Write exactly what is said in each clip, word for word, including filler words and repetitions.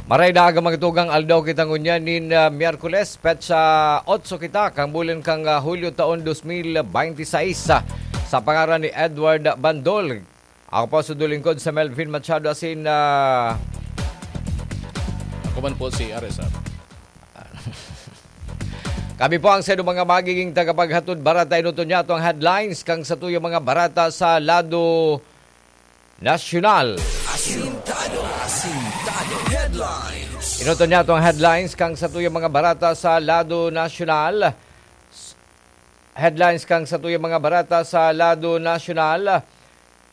Maray na aga, mga tugang, aldaw kita ngunyan nin, ah, Miyerkules, petsa otso kita, kan bulan kan, ah, Hulyo, taon dos mil bente seis. Sa pangaran ni Edward Bandol, ako po sa lingkod sa Melvin Machado asin, ah, Ako man po si R S R. Kami po ang sa mga magiging tagapaghatod barata. Inoton niya ang headlines kan satuyang mga barata sa lado nasyonal. Asintado, asintado headlines. Inoton niya ang headlines kan satuyang mga barata sa lado nasyonal. Headlines kan satuyang mga barata sa lado nasyonal.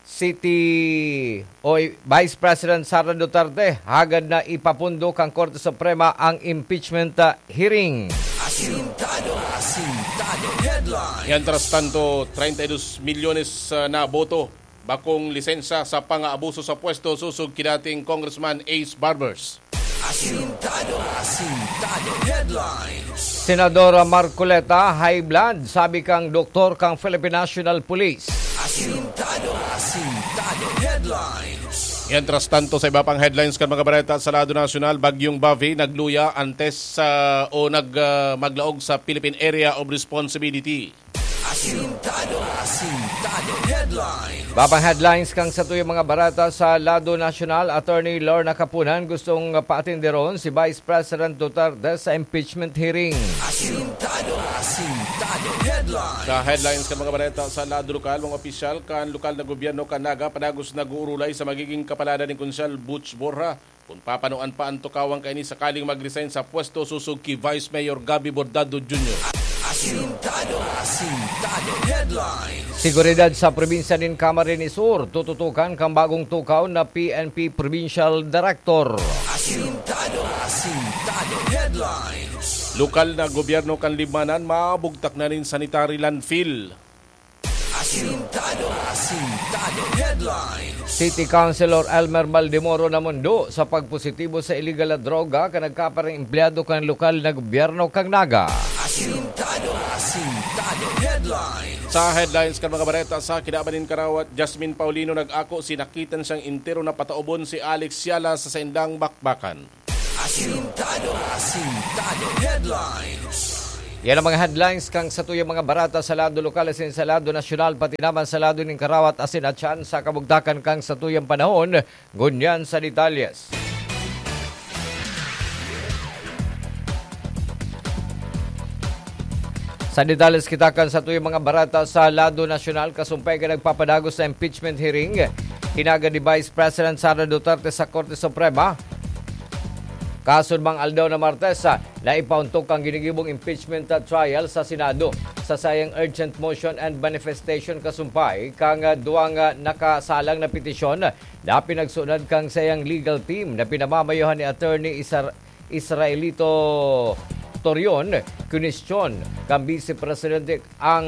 City o Vice President Sara Duterte, hagad na ipapundo kan Korte Suprema ang impeachment, ah, hearing. Asintado, asintado headlines. Mientras tanto, treinta y dos milyones, ah, na boto, bakong lisensya sa pang-aabuso sa pwesto sosog ki dating Congressman Ace Barbers. Asintado, asintado headlines. Senadora Marcoleta, high blood, sabi kang doktor kang Philippine National Police. Asintado, asintado headlines. Mientras tanto, sa iba pang headlines kan mga bareta sa lado nasyonal, Bagyong Bavi nagluya antes sa o nag, ah, maglaog sa Philippine Area of Responsibility. Asintado, asintado headlines. Babang headlines kang satuyang mga barata sa lado nasyonal, Attorney Lorna Kapunan gustong paatinderon si Vice President Duterte sa impeachment hearing. Asintado, asintado headlines. Sa headlines kan mga bareta sa lado lokal, mga opisyal kan lokal na gobyerno kan Naga padagos nag-uurulay sa magiging kapaladan ni Konsyal Butch Borja kung papanuan pa ang tukawan kaini sakaling mag-resign sa pwesto sosog ki Vice Mayor Gabby Bordado Junior. Asintado, asintado headlines. Seguridad sa probinsya nin Camarines Sur, tututukan kang bagong tukaw na P N P Provincial Director. Asintado, asintado headlines. Lokal na gobyerno kan Libmanan mabugtak na nin sanitary landfill. Asintado, asintado headlines. City Councilor Elmer Maldemoro namundo sa pagpositibo sa iligal na droga kan nagkaparang empleyado kan lokal na gobyerno kan Naga. Asintado, asintado headlines. Sa headlines kan mga bareta sa kinaban nin karawat, Jasmine Paulino nag-ako sinakitan siyang entero na pataubon si Alex Siala sa saindang bakbakan. Asintado, asintado headlines. Yan ang mga headlines kang satuyang mga barata sa lado lokal asin sa lado nasyonal, pati naman sa lado nin karawat asin atyan sa kabugtakan kang satuyang panahon. Ngunyan sa detalyes. Sa detalyes kita kan satuyang mga barata sa lado nasyonal, kasumpay kan nagpapadagos na impeachment hearing, hinagad ni Vice President Sara Duterte sa Korte Suprema. Kasunbang aldaw na Martes, ah, naipauntok ang ginigibong impeachment, ah, trial sa Senado. Sa sayang urgent motion and manifestation kasumpay kang, ah, duwang, ah, nakasalang na petisyon na pinagsunod kang sayang legal team na pinamamayohan ni Attorney Isar-, Israelito Torion, kinwestiyon kan Vice Presidente ang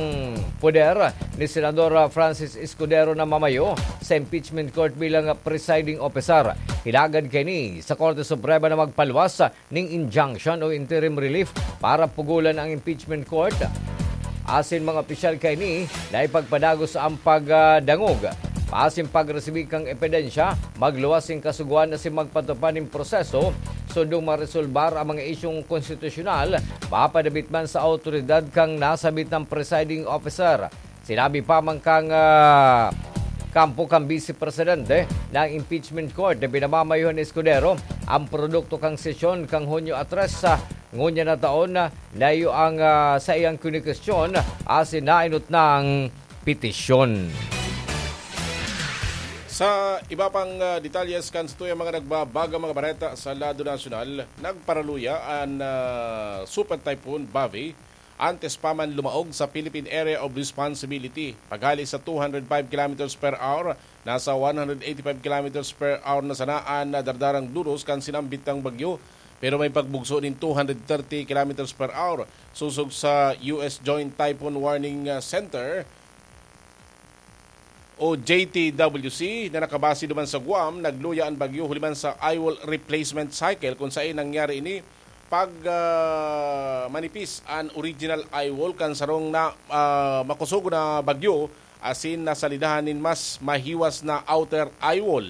poder ni Senador Francis Escudero na mamayo sa impeachment court bilang presiding officer. Hinagad kaini sa Korte Suprema na magpaluwas ning injunction o interim relief para pugulan ang impeachment court. Asin mga opisyal kaini na ipagpadagos ang pagdangog. Asin pagresibi kan ebidensya, magluwas nin kasugoan asin magpatupad nin proseso sundong maresolbar ang mga isyung konstitusyonal, mapadapit man sa awtoridad kan nasabitang presiding officer. Sinabi pa man kan, ah, kampo kan Vice Presidente na ang impeachment court na pinamamayohan ni Escudero ang produkto kan sesyon kan Hunyo a tres, ah, ngunyan na taon, ah, layo ang, ah, saiyang kinikwestiyon asin nainot na ang petisyon. Sa iba pang, ah, detalyes kan satuyang mga nagbabagang mga bareta sa lado nasyonal, nagparaluya an, ah, Super Typhoon Bavi antes pa man lumaog sa Philippine Area of Responsibility. Paghali sa two hundred five kilometers per hour, nasa one hundred eighty-five kilometers per hour na sana an nadardarang duros kan sinambit na bagyo, pero may pagbugso nin two hundred thirty kilometers per hour. Sosog sa U S Joint Typhoon Warning, ah, Center o J T W C na nakabase duman sa Guam, nagluya an bagyo huli man sa eyewall replacement cycle, kung saen nangyari ini pag, ah, manipis an original eyewall kan sarong na, ah, makosog na bagyo asin nasalidahan nin mas mahiwas na outer eyewall.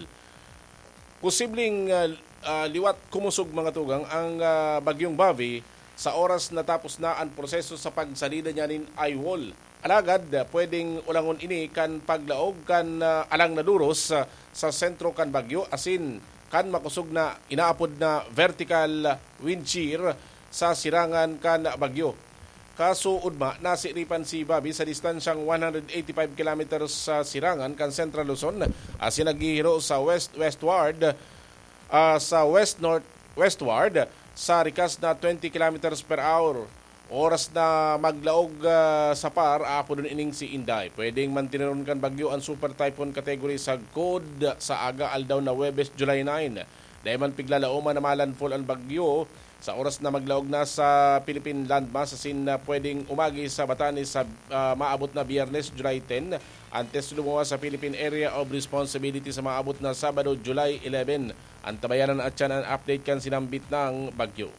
Posibleng, ah, Ah, liwat kumusog, mga tugang, ang, ah, Bagyong Bobby sa oras natapos na ang proseso sa pagsalida niya nin eye wall. Alagad, ah, pwedeng ulangon ini kan paglaog kan, ah, alang na duros, ah, sa sentro kan bagyo, asin kan makosog na inaapod na vertical wind shear sa sirangan kan bagyo. Kaso, ugma, nasiripan si Bobby sa distansyang one hundred eighty-five kilometers sa sirangan kan Central Luzon, asin naghihiro sa west-westward, ah, sa west-north-westward sa rikas na twenty kilometers per hour. Oras na maglaog, ah, sa par, aapodon ining si Inday. Pwedeng mantineron kan bagyo ang Super Typhoon Category sagkod sa aga aldaw na Huwebes, July nine. Dai man piglalaoman na ma-landfall ang bagyo sa oras na maglaog na sa Philippine landmass, asin na pwedeng umagi sa Batanes sa, ah, maabot na Biyernes, July ten, antes lumuwas sa Philippine Area of Responsibility sa maabot na Sabado, July eleven. Antabayanan at yan ang update kan sinambit ng bagyo.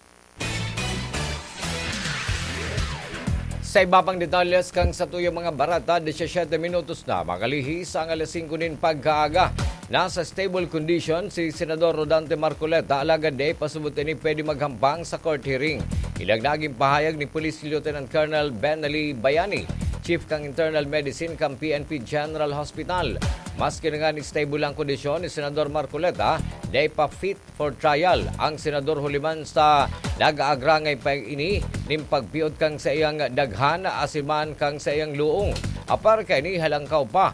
Sa iba pang detalles kan satuyang mga bareta, disisiyete minutos na makalihis ang alas singko nin pagkaaga. Nasa stable condition si Senador Rodante Marcoleta, alagad dai pa subot ini pwede maghambang sa court hearing. Ilag nagin pahayag ni Police Lieutenant Colonel Benelli Bayani, Chief kan Internal Medicine kan P N P General Hospital. Maski na ngani stable ang kondisyon ni Senador Marcoleta, dai pa fit for trial ang senador, huli man sa nag-aagrangay pa ini nin pagpiot kan saiyang daghan asin man kan saiyang luong. Apar kaini, halangkaw pa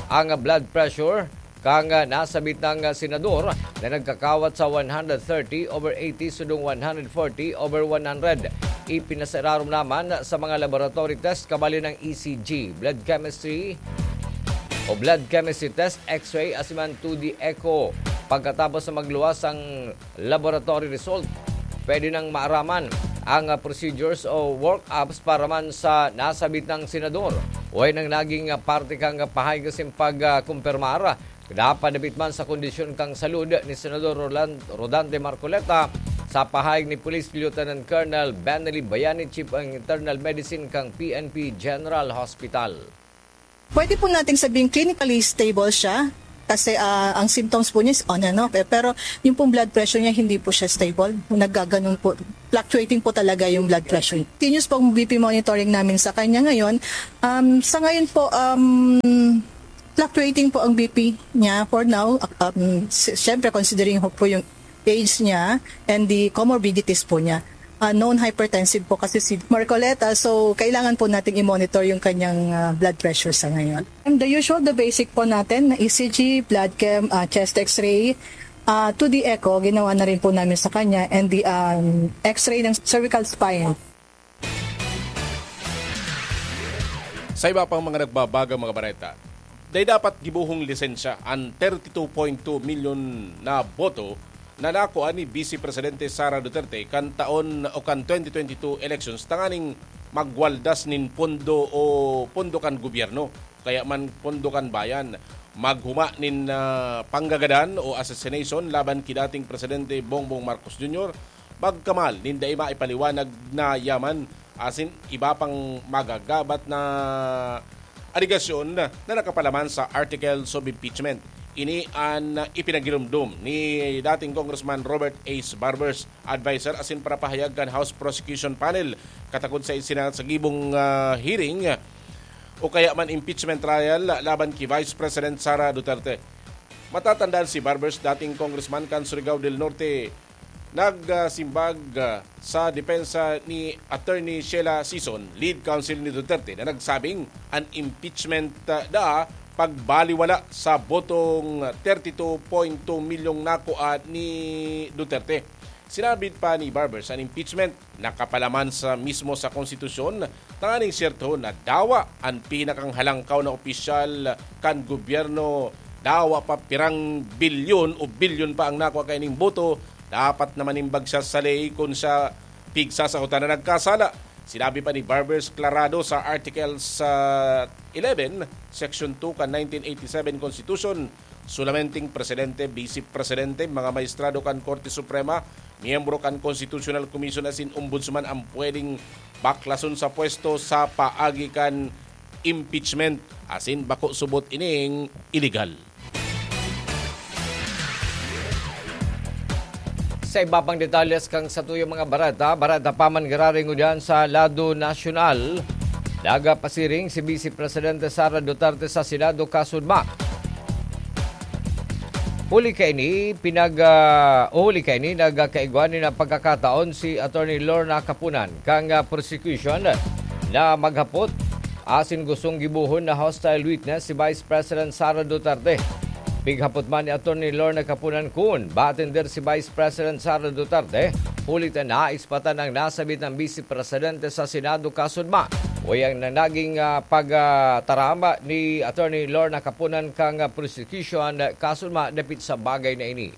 ang blood pressure kan nasabit na senador na nagkakawat sa one hundred thirty over eighty sundong one hundred forty over one hundred. Ipinasararom naman sa mga laboratory test, kabali ng E C G, blood chemistry o blood chemistry test, X-ray, asin man two D echo. Pagkatapos na magluwas ang laboratory result, pwede nang maaraman ang, ah, procedures o workups para man sa nasabit na senador. Way nang naging, ah, parte kan pahayag asin pag, ah, kumpirmar na padapit man sa kondisyon kan salud ni Senador Roland, Rodante Marcoleta, sa pahayag ni Police Lieutenant Colonel Benelli Bayani, Chief ng Internal Medicine kan P N P General Hospital. Pwede po nating sabihing clinically stable siya kasi, ah, ang symptoms po niya is on and off, eh. Pero yung pong blood pressure niya, hindi po siya stable. Naggaganon po. Fluctuating po talaga yung blood pressure. Continuous pong B P monitoring namin sa kanya ngayon. Um, sa ngayon po, um, fluctuating po ang B P niya for now. Um, si-, siyempre, considering ho po yung age niya and the comorbidities po niya. Ah, known hypertensive po kasi si Marcoleta, so kailangan po nating i-monitor yung kanyang, ah, blood pressure sa ngayon. And the usual, the basic po natin, na E C G, blood chem, ah, chest X-ray, ah, two D echo, ginawa na rin po namin sa kanya, and the, um, X-ray ng cervical spine. Sa iba pang mga nagbabagang mga bareta, dai dapat gibohong lisensya an thirty-two point two milyon na boto na nakua ni Vice Presidente Sara Duterte kan taon o kan twenty twenty-two elections tanganing magwaldas nin pondo o pondo kan gobyerno, kaya man pondo kan bayan, maghuma nin, ah, panggagadan o assassination laban ki dating Presidente Bongbong Marcos Junior, pagkamal nin dai maipaliwanag na yaman asin iba pang magagabat na alegasyon na nakapalaman sa articles of impeachment. Ini an ipinagirumdom ni dating Congressman Robert Ace Barbers, adviser asin parapahayag kan House Prosecution Panel, katakod sa isinasagibong, ah, hearing o kaya man impeachment trial laban ki Vice President Sara Duterte. Matatandaan si Barbers, dating congressman kan Surigao del Norte, nagsimbag, ah, sa depensa ni Attorney Sheila Sison, lead counsel ni Duterte, na nagsabing an impeachment, ah, da pagbaliwala sa botong thirty-two point two milyong nakua ni Duterte. Sinabi pa ni Barbers, an impeachment nakapalaman sa mismo sa konstitusyon, tanganing siyerto na dawa an pinakang halangkaw na opisyal kan gobyerno, dawa pa pirang bilyon o bilyon pa ang nakua kaining boto, dapat na manimbag siya sa ley kun siya pigsasakotan na nagkasala. Sinabi pa ni Barbers Clarado sa Article sa eleven, Section two kan nineteen eighty-seven Constitution, solamente presidente, vice presidente, mga maestrado kan Korte Suprema, miyembro kan Constitutional Commission asin ombudsman ang pwedeng baklason sa pwesto sa paagi kan impeachment, asin bako subot ining iligal. Sa iba pang detalles kan satuyang mga bareta, bareta pa man giraray ngunyan sa lado nasyonal. Nagpasiring si Vice Presidente Sara Duterte sa Senado kasudma. Huli kaini, pinag, ah, huli kaini, nagkaigwa nin pagkakataon si Attorney Lorna Kapunan kan, ah, prosecution na maghapot asin gustong gibohon na hostile witness si Vice President Sara Duterte. Pighapot man ni Attorney Lorna Kapunan kun ba atender si Vice President Sara Duterte, huli ta nais pa tanang nasabit ng Vice Presidente sa Senado kasudma. O yang na naging, ah, pagtaram ni Attorney Lorna Kapunan kan, ah, prosecution kasudma dapit sa bagay na ini.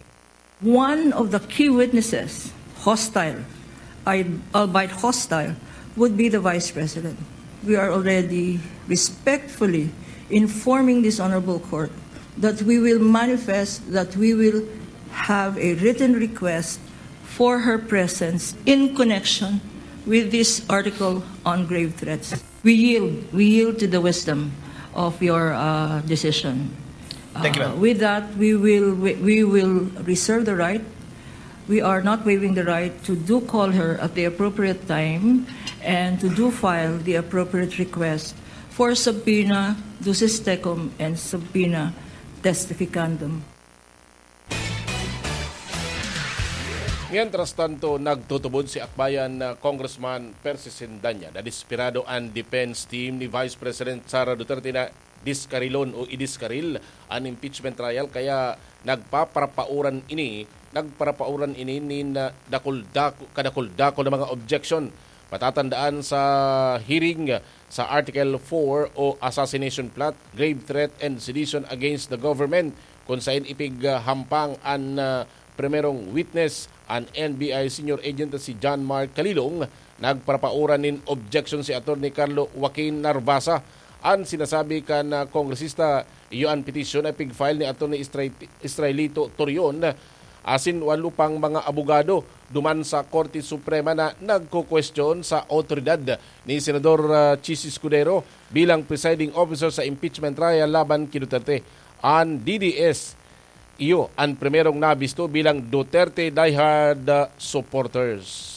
One of the key witnesses, hostile, I- albeit hostile, would be the Vice President. We are already respectfully informing this Honorable Court that we will manifest, that we will have a written request for her presence in connection with this article on grave threats. We yield, we yield to the wisdom of your, uh, decision. Thank you, ma'am. Uh, with that, we will, we, we will reserve the right. We are not waiving the right to do call her at the appropriate time and to do file the appropriate request for subpoena dusis tecum and subpoena testificandum. Mientras tanto, nagtutubod si Akbayan na Congressman Percy Sendanya na desperado an defense team ni Vice President Sara Duterte na diskarilon o idiskaril an impeachment trial, kaya nagpaparapauran ini, nagparapauran ini nin, ah, dakul-dako-, kadakul-dakul na mga objection. Matatandaan sa hearing sa Article four o assassination plot, grave threat and sedition against the government, kung sain ipighampang an, ah, primerong witness, an N B I senior agent si John Mark Kalilong, nagparapauran nin objection si Attorney Carlo Joaquin Narvasa. An sinasabi kan, ah, kongresista, iyo an petisyon na pig-file ni Attorney Istray-, Israelito Torion asin walo pang mga abogado duman sa Korte Suprema na nagkukwestiyon sa awtoridad ni Senador, ah, Chiz Escudero bilang presiding officer sa impeachment trial laban ki Duterte. An D D S, iyo an primerong nabisto bilang Duterte diehard, ah, supporters.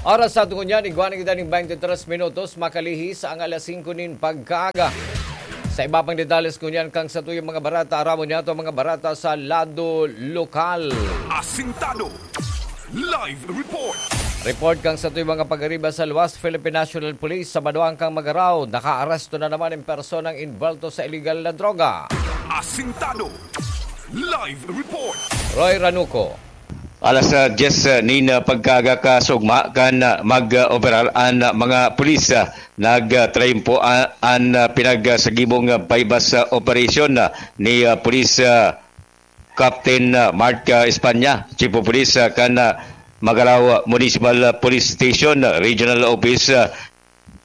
Oras sa aton ngunyan, igwa na kita nin twenty-three minutos, makalihis ang alas singko nin pagkaaga. Sa iba pang detalles ngunyan kan satuyang mga bareta, aramon niyato ang mga bareta sa lado lokal. Asintado. Live report. Report kan satuyang mga pag-ariba sa luwas, Philippine National Police sa banwaan kan Magarao, nakaaresto na naman ang personang involto sa iligal na droga. Asintado. Live report. Roy Ranuco. Alas, ah, diyes, ah, nin, ah, pagkaaga kasugma kan, ah, mag-operar an, ah, mga pulis, ah, nagtrayimpo, ah, an, ah, pinagsagibong, ah, buy-bust, ah, operation, ah, ni, ah, Pulis, ah, Captain, ah, Mark, ah, Espanya, Chief of Police, ah, kan, ah, Magarao Municipal Police Station, ah, Regional Office, ah,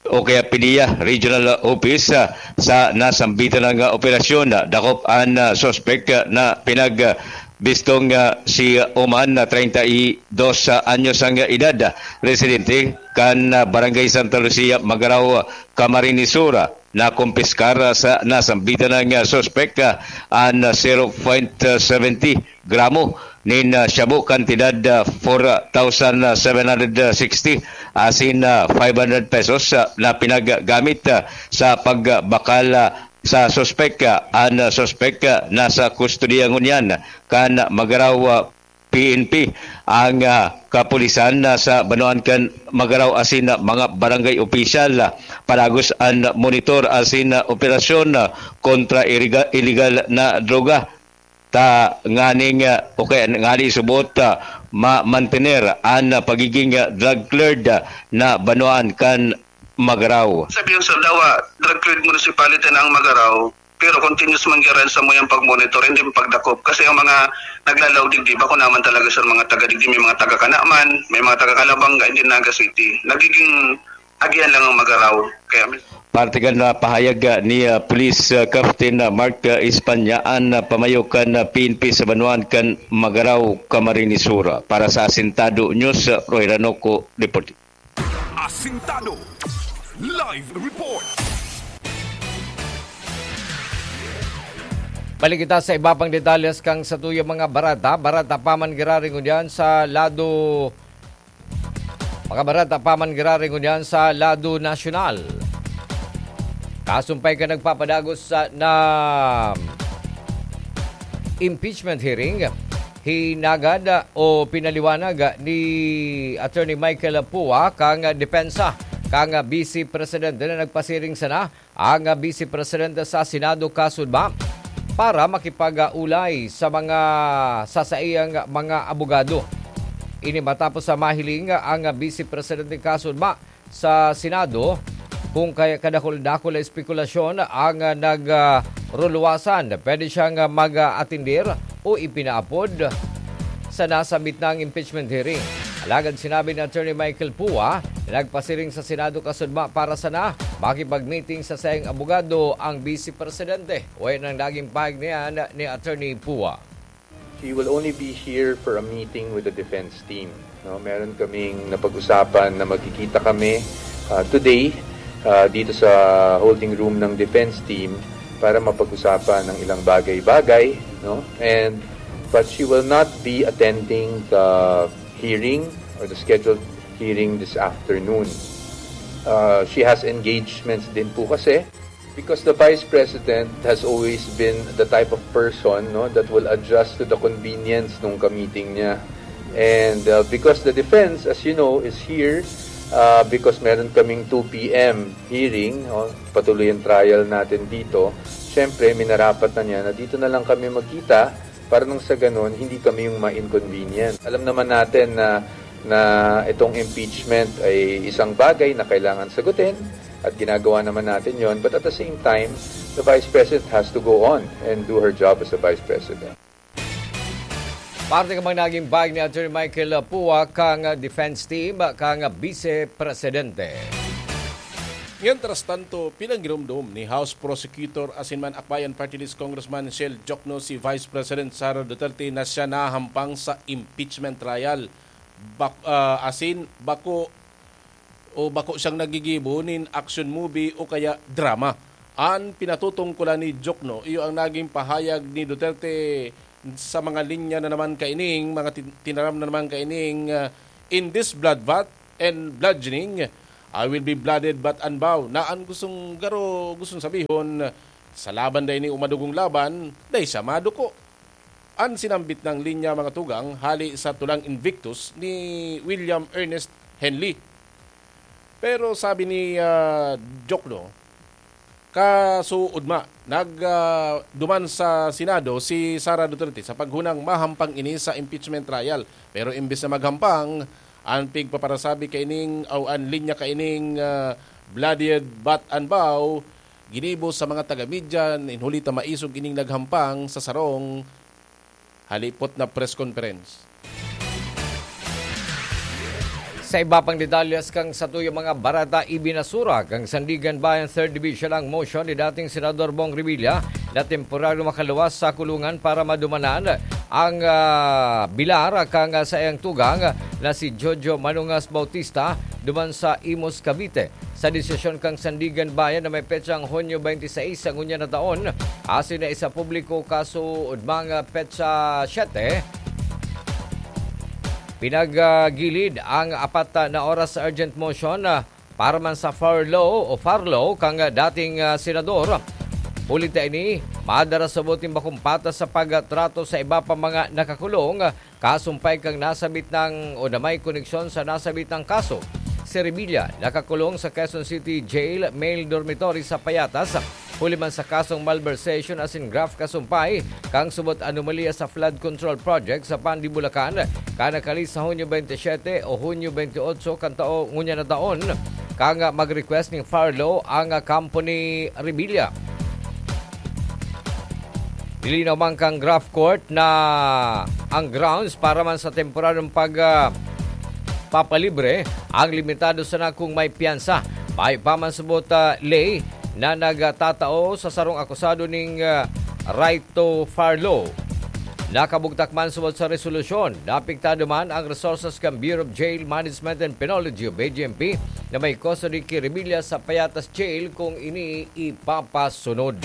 o kaya PDEA Regional Office, ah, sa nasambitan na operasyon. Dakop an, ah, suspek, ah, na pinagbistong, ah, si Oman na treinta y dos anyos ang edad, residente kan, ah, Barangay Santa Lucia, Magarao, Camarines Sur. Nakumpiskar sa nasambitan na suspek, ah, an zero point seventy gramo nin, ah, shabu, kantidad, ah, four thousand seven hundred sixty, asin, ah, five hundred pesos, ah, na pinaggamit, ah, sa pagbakal, ah, sa suspek. Ah, an suspek, ah, nasa kustodiya ngunyan kan Magarao, ah, P N P, ang, ah, kapulisan, ah, sa banwaan kan Magarao asin, ah, mga barangay opisyal, ah, palagos an monitor asin, ah, operasyon, ah, kontra iriga-, iligal na droga. Ta nganing, ah, o kaya ngani subot, ah, ma-mantener an, ah, pagiging, ah, drug cleared, ah, na banwaan kan Magarao. Sabi yung sir, dawa, drug cleared municipality na ang Magarao, pero continuous man gyud sa muyang pag-monitor, hindi man pagdakop. Kasi ang mga naglalaog digdi, bako naman talaga, sir, mga taga digdi, may mga taga Canaman, may mga taga Calabanga, hindi Naga City. Nagiging agihan lang ang Magarao. Kaya, Parte kan, ah, pahayag, ah, ni, ah, Police, ah, Captain, ah, Mark, ah, Espanya, an, ah, pamayo kan, ah, P N P sa banwaan kan Magarao, Camarines Sur. Para sa Asintado News, ah, Roy Ranoco, report. Asintado. Live report. Balik kita sa iba pang detalles kan satuyang mga bareta. Bareta pa man giraray ngunyan sa lado, mga bareta pa man giraray ngunyan sa lado nasyonal. Kasumpay kan nagpapadagos sa, na impeachment hearing, hinagad o pinaliwanag ni Attorney Michael Pua kan depensa kan Vice Presidente na nagpasiring sana ang Vice Presidente sa Senado kasudma para makipag-ulay sa mga, sa saiyang mga abogado. Ini matapos sa mahiling ang Vice Presidente kasudma sa Senado kung kaya kadakul-dakul na espekulasyon ang nag, ah, ruluwasan. Pwede siyang, ah, mag-atindir o ipinaapod sa nasambit na impeachment hearing. Alagad sinabi ni Attorney Michael Pua na nagpasiring sa Senado kasudma para sana makipag-meeting sa saiyang abogado ang Vice Presidente. Uwi ng naging pahayag na yan ni Attorney Pua. She will only be here for a meeting with the defense team. No? Meron kaming napag-usapan na magkikita kami, ah, today, ah, dito sa holding room ng defense team para mapag-usapan ng ilang bagay-bagay, no? And, but she will not be attending the hearing or the scheduled hearing this afternoon. Uh, she has engagements din po kasi because the vice president has always been the type of person, no, that will adjust to the convenience ng meeting niya. And, uh, because the defense, as you know, is here, uh, because meron kaming two p.m. hearing, no, patuloy ang trial natin dito. Siyempre, minarapat na niya na dito na lang kami magkita para nang sa ganun, hindi kami yung ma-inconvenient. Alam naman natin na, na itong impeachment ay isang bagay na kailangan sagutin at ginagawa naman natin yon. But at the same time, the Vice President has to go on and do her job as a Vice President. Parte ka mang naging bayag ni Attorney Michael Pua kang defense team, kang Vice Presidente. Mientras tanto, pinagiromdom ni House Prosecutor asin man Akbayan Party List Congressman Shell Jokno si Vice President Sara Duterte na siya nahampang sa impeachment trial. Bak-, ah, asin bako o bako siyang nagigibo nin action movie o kaya drama. An pinatutungkulan ni Jokno, iyo ang naging pahayag ni Duterte sa mga linya na naman kaining, mga tin-, tinaram na naman kaining, ah, "In this bloodbath and bludgeoning, I will be blooded but unbowed." Na an gustong garo, gustong sabihon, sa laban dai ni umadugong laban, dai siya maduko. An sinambit nang linya, mga tugang, hali sa tulang Invictus ni William Ernest Henley. Pero sabi ni, ah, Jokno, kasuodma, nag, ah, duman sa Senado si Sara Duterte sa paghunang mahampang ini sa impeachment trial. Pero imbes na maghampang, an pigpaparasabi kaining o an linya kaining, ah, blooded but unbowed, ginibo sa mga taga-media, nin huli ta maisog ining naghampang sa sarong halipot na press conference. Sa iba pang detalles kan satuyang mga bareta, ibinasura kan Sandiganbayan Third Division ang motion ni dating Senador Bong Revilla na temporaryo makaluwas sa kulungan para madumanan ang, ah, bilar kan, ah, saiyang tugang na si Jojo Manungas Bautista duman sa Imus, Cavite. Sa desisyon kan Sandiganbayan na may petsang Hunyo twenty-six sa ngunyan na taon, asin na isapubliko kasuodmang petsa siyete, pinagagilid ang apat na oras urgent motion, ah, para man sa furlough o furlough kan dating, ah, senador. Huli ta ini, madara sa buting bakong patas sa pagtrato sa iba pa mga nakakulong, kasumpay kan nasabit nang o na may koneksyon sa nasabit nang kaso. Si Revilla nakakulong sa Quezon City Jail Male Dormitory sa Payatas, huli man sa kasong malversation asin graft kasumpay kan subot anomalya sa flood control project sa Pandi, Bulacan, kan nakalis sa Hunyo twenty-seven o Hunyo twenty-eight kan tao ngunyan na taon, kan mag-request ning furlough ang kampo ni Revilla. Nilinaw man kan graft court na ang grounds para man sa temporaryong pag, ah, papalibre ang limitado sana kung may piyansa. Mayo pa man subot, ah, ley na nagtatao sa sarong akusado ning, ah, right to furlough. Nakabugtak man subot sa resolusyon, naapektado man ang resources kan Bureau of Jail Management and Penology o B J M P na may custody ki Revilla sa Payatas Jail kung ini ipapasunod.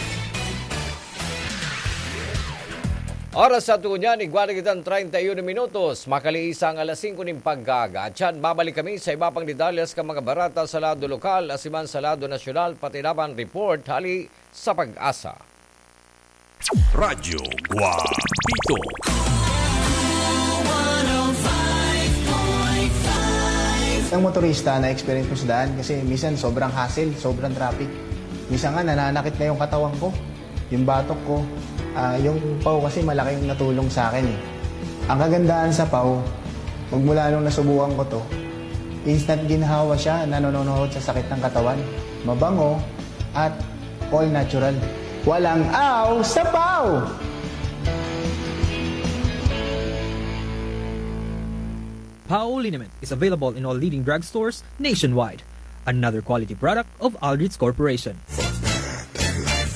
Oras sa tunyan, igwa na kitang treinta y uno minutos. Makaliisa ang alas singko nin pagkaaga. Tiyan, babalik kami sa iba pang detalye sa mga barata sa lado lokal, asiman sa lado nasyonal, pati naman report hali sa Pag-asa. Radyo Guapito. Ang motorista na experience ko sa daan kasi minsan sobrang hassle, sobrang traffic. Minsan nga nananakit na yung katawan ko, yung batok ko. Ah, yung pau kasi malaking natulong sa akin eh. Ang kagandahan sa pau, magmula nung nasubukan ko to, instant ginhawa siya, nanononohod sa sakit ng katawan. Mabango at all natural. Walang aw sa pau! Pau Liniment is available in all leading drugstores nationwide. Another quality product of Aldrich Corporation.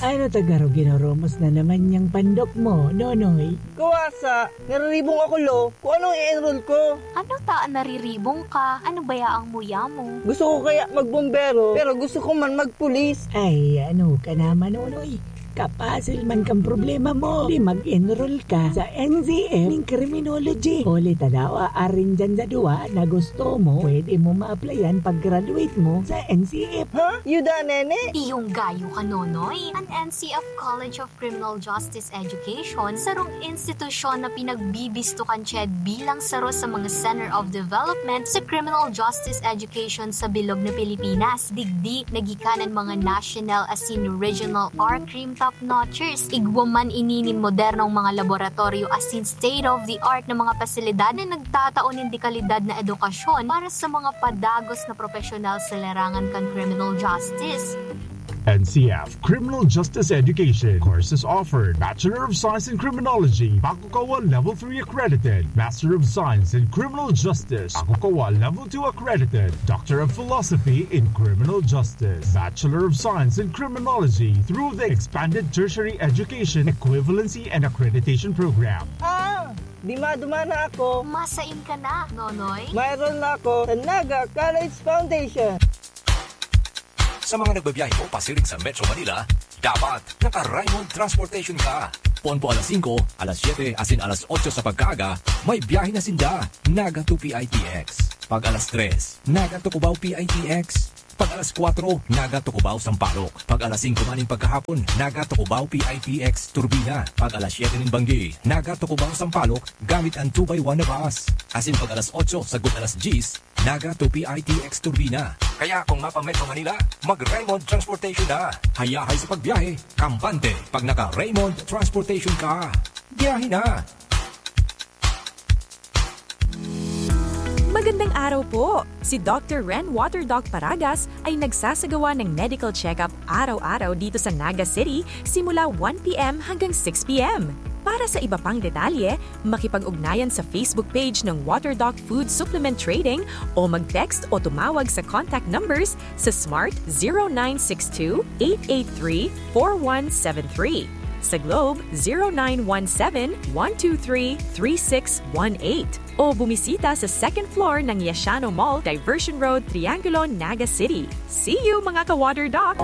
Ano ta garo ginoromos na naman niyang pandok mo, Nonoy? Kuwasa, nariribong ako, lo. Kung anong i-enroll ko. Ano ta an nariribong ka? Ano baya ang muya mo? Gusto ko kaya magbombero, pero gusto ko man magpulis. Ay, ano ka naman, Nonoy? Kapasil man kang problema mo. Di mag-enroll ka sa N C F ning criminology. Huli ta daw, aarin dyan sa duwa na gusto mo, pwede mo ma-applyan pag-graduate mo sa N C F. Ha? Yuda, nene? Iyong gayo ka, Nonoy. An N C F College of Criminal Justice Education, sarong institusyon na pinagbibisto kan CHED bilang saro sa mga Center of Development sa Criminal Justice Education sa bilog na Pilipinas. Digdi, naggikan an mga national asin regional R-Crime top notchers. Igwa man ini nin modernong mga laboratoryo asin state-of-the-art na mga pasilidad na nagtatao nin dekalidad na edukasyon para sa mga padagos na propesyonal sa larangan kan criminal justice. N C F Criminal Justice Education. Courses offered: Bachelor of Science in Criminology, Pakukawa Level three accredited; Master of Science in Criminal Justice, Pakukawa Level two accredited; Doctor of Philosophy in Criminal Justice, Bachelor of Science in Criminology through the Expanded Tertiary Education Equivalency and Accreditation Program. Ah! Di maduma na ako. Masain ka na, Nonoy? Mayroon na ako sa Naga College Foundation. Sa mga nagbabiyahe po pasiring sa Metro Manila, dapat naka-Raymond Transportation ka. Poon po alas singko, alas siyete, asin alas otso sa pagkaaga, may biyahe na sinda, Naga to P I T X. Pag alas tres, Naga to Cubao P I T X. Pag alas kwatro, Naga to Cubao Sampaloc. Pag alas singko man nin pagkahapon, Naga to Cubao P I T X Turbina. Pag alas siyete nin banggi, Naga to Cubao Sampaloc, gamit an two by one na bus. Asin pag alas otso sagkod alas dyes, Naga to P I T X Turbina. Kaya kung mapa-Metro Manila, mag-Raymond Transportation na. Hayahay sa pagbiyahe, kampante pag naka-Raymond Transportation ka. Biyahe na! Magandang araw po! Si Doctor Ren Water Doc Paragas ay nagsasagawa ng medical check-up araw-araw dito sa Naga City simula one P M hanggang six P M. Para sa iba pang detalye, makipag-ugnayan sa Facebook page ng Water Doc Food Supplement Trading o mag-text o tumawag sa contact numbers sa Smart zero nine six two, eight eight three, four one seven three, sa Globe zero nine one seven, one two three, three six one eight, o bumisita sa second floor ng Yashano Mall, Diversion Road, Triangulo, Naga City. See you, mga ka-Water Doc!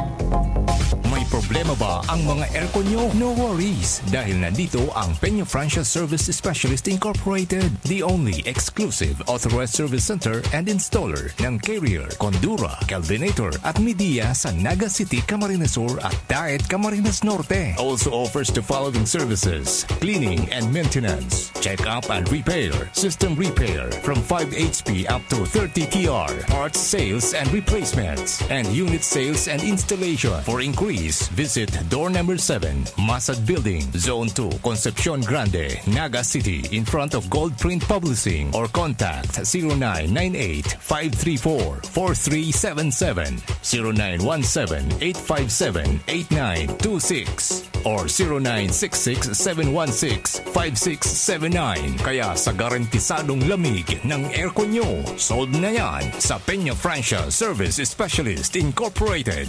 May problema ba ang mga aircon nyo? No worries, dahil nandito ang Peña Francia Service Specialist Incorporated, the only exclusive authorized service center and installer ng Carrier, Condura, Kelvinator at Midea sa Naga City, Camarines Sur at Daet, Camarines Norte. Also offers the following services: cleaning and maintenance, check-up and repair, system repair from five H P up to thirty T R, parts sales and replacements, and unit sales and installation. For inquiries, visit door number seven, Masad Building, Zone two, Concepcion Grande, Naga City, in front of Gold Print Publishing, or contact zero nine nine eight, five three four, four three seven seven, zero nine one seven, eight five seven, eight nine two six, or zero nine six six, seven one six, five six seven nine. Kaya sa garantisadong lamig ng aircon nyo, sold na yan sa Peña Francia Service Specialist Incorporated.